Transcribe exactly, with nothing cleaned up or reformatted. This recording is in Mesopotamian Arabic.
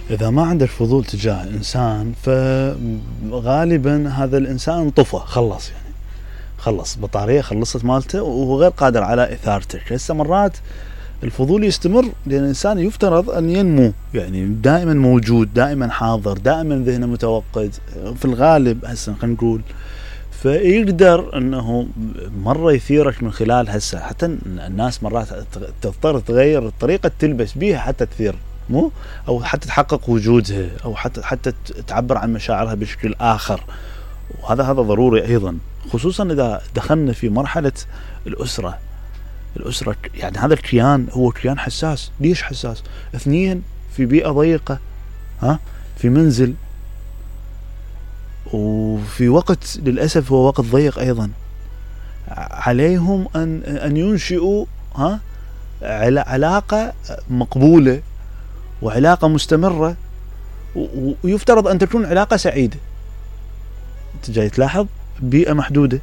إذا ما عندك فضول تجاه إنسان فغالبا هذا الإنسان طفى خلص، يعني خلص بطارية خلصت مالته وهو غير قادر على إثارتك. هسه مرات الفضول يستمر لأن الإنسان يفترض أن ينمو، يعني دائما موجود، دائما حاضر، دائما ذهنه متوقد في الغالب. هسه خلينا نقول فيقدر أنه مرة يثيرك من خلال هسه حتى الناس مرات تضطر تغير طريقة تلبس بيها حتى تثير، مو أو حتى تحقق وجودها، أو حتى حتى تعبر عن مشاعرها بشكل آخر، وهذا هذا ضروري أيضا، خصوصا إذا دخلنا في مرحلة الأسرة. الأسرة يعني هذا الكيان هو كيان حساس. ليش حساس؟ اثنين في بيئة ضيقة، ها، في منزل، وفي وقت للأسف هو وقت ضيق أيضا، عليهم أن أن ينشئوا ها علاقة مقبولة وعلاقة مستمرة، ويفترض أن تكون علاقة سعيدة. أنت جاي تلاحظ بيئة محدودة،